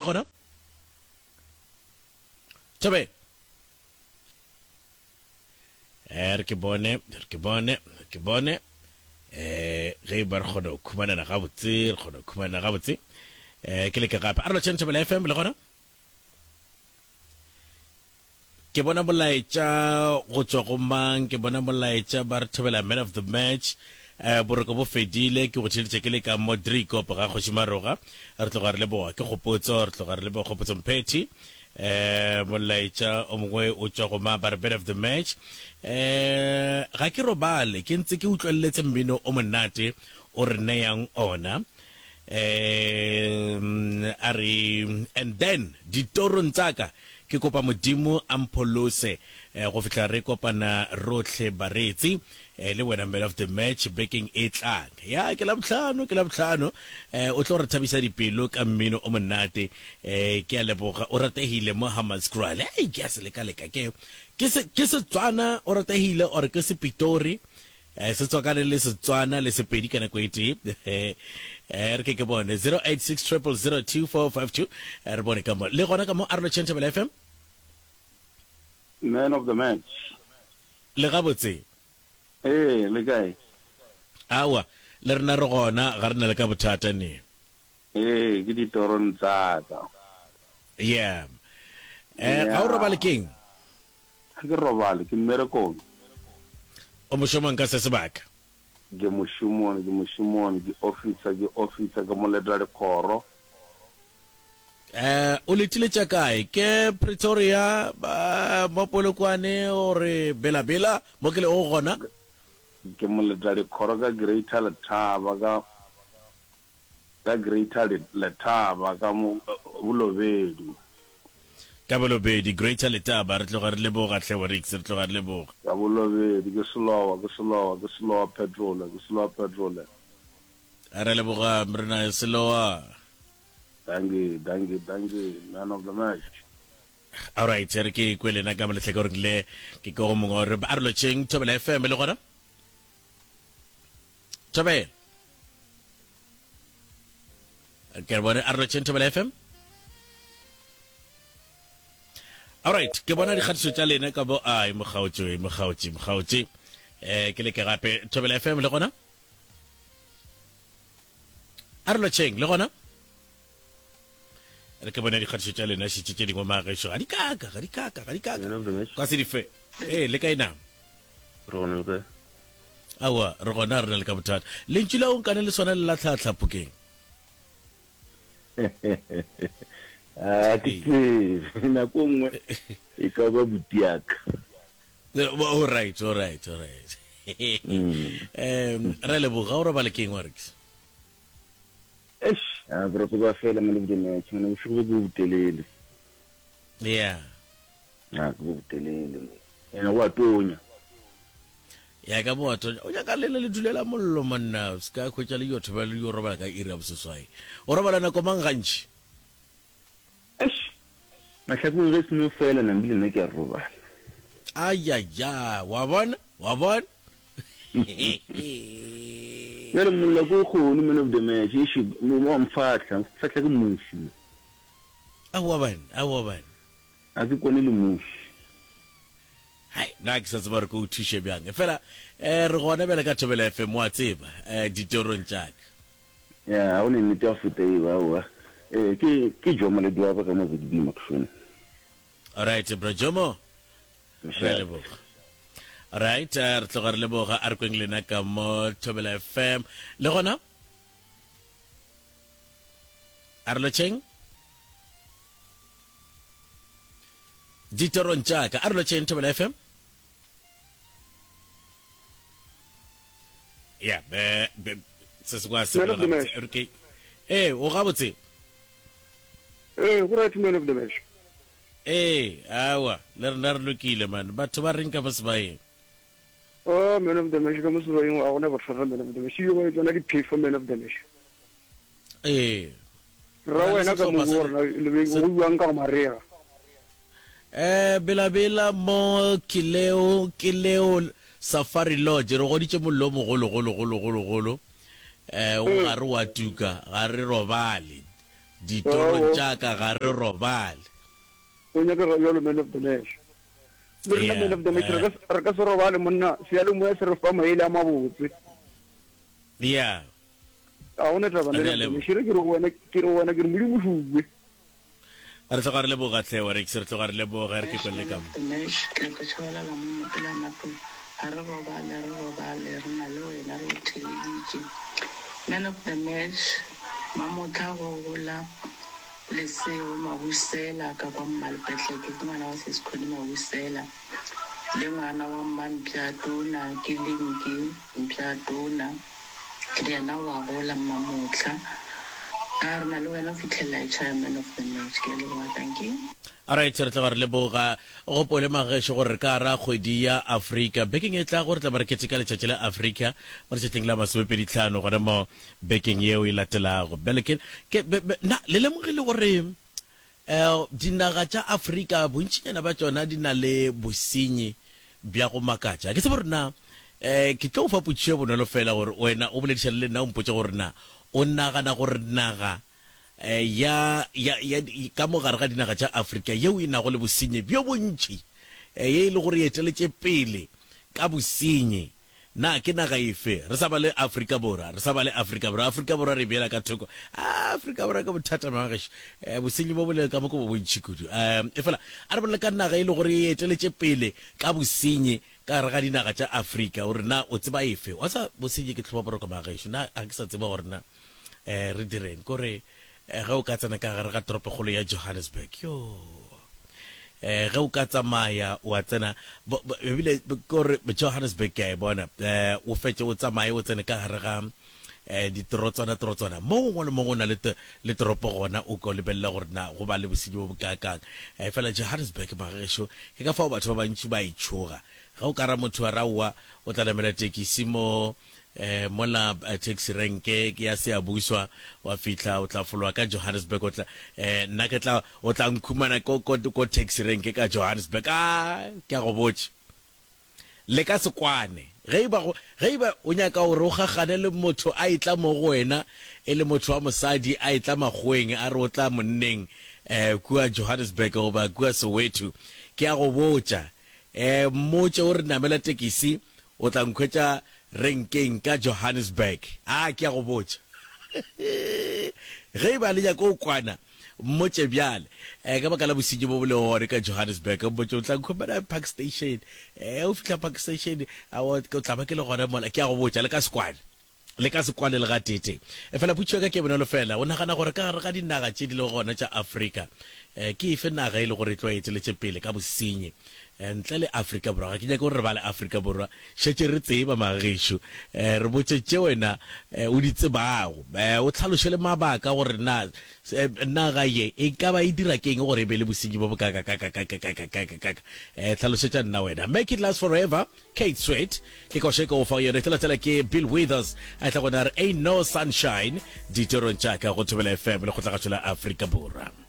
gona? Thobela. Eh, re ke bone, re ke bone, re ke bone. Eh, ge e ba re kgona go khumanana gabotse, re kgona go khumanana gabotse. Eh, ke leke gape. A re lotšheng Thobela FM le gona? Ke bona molaetša go tšwa go mang? Ke bona molaetša ba re Thobela man of the match. Eh, boroko bo fedile, ke go theeletša ke le ka mo Driekop ga Kgoši Maroga. Re tloga re leboga ke Kgopotso, re tloga re leboga Kgopotso Mphethi. Eh, molaetša o mongwe o tšwa go mang ba re man of the match. Eh, ga ke robale, ke ntse ke utlweletse mmino o monate o re neyang ona. Eh, a re and then ditorong tsa ka Ke kopa Modimo a mpholose go fihla re kopana rohle bareetsi le wena man of the match bekeng e tlang. Ya ke Labohlano, ke Labohlano. O tlo re thabisa dipelo ka mmino o monate. Ke a leboga. O ratehile mo Hammanskraal. Hei, ke a se leka-leka ke ke se ke Setswana o ratehile or ke Sepitori. Eh, se tswakane le Setswana le Sepedi ka nako e tee. Eh, re ke ke bone 086 0002452 eh, re bone ka mo. Le gona ka mo a re lotšheng Thobela FM. Man of the match. Le gabotse. Ee, le kae? Aowa, le rena re gona, ga re na le ka bothata ne. Ee, ke ditorong tsa ka. Yeah. Eh, ga o robale keng? Ga ke robale, ke mmerekong. O mošomong ka se sebaka? Ke mošomong, ke mošomong, ke officer, ke officer, ke moleta dikgoro. Eh, o letile tša kae? Ke Pretoria, ba, mo Polokwane, gore Bela Bela, mo ke lego gona? Ke moleta dikgoro ka Greater Letaba, ka. Ka Greater Letaba ka mo Bolobedu. Ka Bolobedu, Greater Letaba, re tloga re leboga hle Warix, re tloga re leboga. Ka Bolobedu, ke Selowa, ke Selowa, ke Selowa Petrole, ke Selowa Petrole. Re leboga Mrena Selowa. Dankie, dankie, dankie, man of the match. Alright, re ke kwe lena ka mo lehlakoreng le ke ke go mongwe re a re lotšheng Thobela FM le gona. Thobela. Ke re bone a re lotšheng Thobela FM. Alright, ke bona dikgatišo tša lena ka bo ai mokgaotše, mokgaotše, mokgaotše. Eh ke leke gape Thobela FM le gona. A re lotšheng le gona. Re ke bone dikgatišo tša lena šitše tše dingwe magešo ga di kaka, ga di kaka, ga di kaka. Ka se di fe. Eh le kae na? Re gona le kae? Aowa, re gona, re na le ka bothata. Lentšu la o nkane le swana le la tlhatlha phokeng. A ke tsebe, nako nngwe e ka ba butiaka. All right, all right, all right. Um, re leboga o robale keng wa rekisa? Eish, a boroko ba fela man of the match, man bošego bo ke bo botelele. Yeah. A ke bo botelele. Ene go a tonya. Ya ka bo a tonya. O nyaka lena le dulela mollo monna, o se ka hwetša le yo thobela le yo robala ka iri ya boseswai. O robala nako mang gantši? Eish, mahlakong ge seno fela nambile nna ke a robala. Ayaya, wa bona? Wa bona? Bjale mollo ke o kgone man of the match, eish wa mfahla, mfahla ke muši. Aowa bana, aowa bana. A ke kwane le muši. Hai, nna ke sa tseba gore ke o thuše bjang. Efela eh, re gona bjale ka Thobela FM, wa tseba, eh, ditorong tša ka. Ya, ga go ne nnete ya go feta eo, aowa. Eh, ke, ke Jomo Ledwaba ka mo ZB Makshone. Alright, bro Jomo. Re a leboga. Alright, eh, re tloga re leboga a re kweng lena ka mo Thobela FM. Le gona? A re lotšheng? Ditorong tša ka. A re lotšheng Thobela FM. Ya, be, be, se se kwa se Man of the match. Okay. Eh, o gabotse. Eh, go right man of the match. Ee, awa, le rena re lokile man. Batho ba reng ka mo sebaeng? Oh, man of the match ka mo sebaeng ga gona bothata man of the match. Yo ba tsona diphefo man of the match. Ee. Ra wena ka mo go rena le be go buang ka go marega. Eh, Bela-Bela mo ke leo, ke leo Safari Lodge re goditše mollo o mogolo golo golo golo golo. Eh, o gare wa tuka, ga re robale. Ditorong tša ka ga re robale. O nyakega bjalo man of the match. Le rena man of the match re ka re ka se robale monna, seyalemoya se re fa maele a mabotse. Yeah. Ga gona taba man of the match. Re ke re go wena, ke re go wena ke re Modimo šuwe. Re tloga re leboga hle Oryx, re tloga re leboga, re ke kwelle ka mo. Mesh, ke nyaka tšhabalala mo mapela matlong. Ga re robale, re robale, re na le wena re go theleditše. Man of the match, Mamotla go gola Lesego Mabusela ka kwa Mmalepetleke, ke ngwana wa Sesi Connie Mabusela le ngwana wa Mmampjatona ke Linki Mpjatona. Le yena o a gola Mmamotla. A re na le wena go fihlelela e tšhaya man of the match. Ke a leboga dankie. Alright, re tloga re leboga. Gopole magešo gore re ka gara kgwedi ya Afrika. Bekeng e tlago re tla ba re keteka letšatši la Afrika mo letšatšing la masomepeditlhano gona mo bekeng yeo e latelago. Bjale ke, ke, be, be, na le lemogile gore um dinaga tša Afrika bontšinyana bja tšona di na le bosenyi bja go makatša? Ke tsebe gore na um ke tlo go fa potšišo e bonolo fela gore wena o boledišane le nna o mpotše gore na o nagana gore naga um ya, ya, ya, ka mo gare ga dinaga tša Afrika yeo e nago le bosenyi bjo bontši, um ye e le gore e eteletše pele ka bosenyi Na ke naga efe? Re sa ba le Afrika Borwa, re sa ba le Afrika Borwa. Afrika Borwa re e beela ka thoko. Ah, Afrika Borwa ke bothata magagešo. Eh, bosenyi bo bo le ka mo ke bo bontši kudu. Um, efela a re bolele ka naga e le gore e eteletše pele ka bosenyi ka gare ga dinaga tša Afrika. O re na o tseba efe? Wa sa bosenyi ke tlhoba boroko magagešo. Na ga ke sa tseba gore na eh, re direng. Kore eh, ge o ka tsena ka gare ga toropokgolo ya Johannesburg, yo eh ge o ka tsamaya wa tsena ebile kore Johannesburg ke a e bona eh o fetše o tsamaye o tsene ka gare ga eh ditorotswana torotswana mo gongwe le mo go na le le toropo gona o ka lebelela gore na go ba le bosenyi bo bokaakang. Eh fela Johannesburg magešo ke ka fao batho ba bantši ba e tšhoga. Ge o ka ra motho wa raowa o tla namela tekisi mo eh mola taxi renke ke ya Siyabuswa wa fihla o tla fologa ka Johannesburg o tla eh nna ke tla o tla nkhumana ko ko ko taxi renke ka Johannesburg a ke a go botša le ka se kwane ge e ba go ge e ba o nyaka gore o gagane le motho a etla mo go wena e le motho wa mosadi a etla makgoweng a re o tla monneng eh kua Johannesburg goba kua Soweto ke a go botša eh mmotše o re namela tekisi O tla nkhwetša renkeng ka Johannesburg. A, ke a go botša. Ge e ba le nyaka go kwana, mmotše bjale. Eh, ka baka la bosenyi bo bo lego gone ka Johannesburg, mmotše o tla nkhumana Park Station. Eh, o fihla Park Station, a o tla ba ke le gona mola. Ke a go botša, le ka se kwane. Le ka se kwane le gateetee. Efela potšišo ya ka ke e bonolo feela, O nagana gore ka gare ga dinaga tše di lego gona tša Afrika, ke efe naga e le gore e tloga e eteletše pele ka bosenyi ntle le Afrika Borwa? Ga ke nyake gore re bale Afrika Borwa, šetše re tseba magagešo. Re botše tše wena o di tsebago, o hlaloše le mabaka gore na naga ye e ka ba e dira ke'ng gore e be le bosenyi bo bokaakakaakakaakakaakakaaka. Hlalošetša nna wena. Make it last forever. Kate Sweat ke koša e ka o fa yone. E latela ke Bill Withers a tla gona re Ain't No Sunshine ditorong tša ka go Thobela FM le kgotlagašo la Afrika Borwa.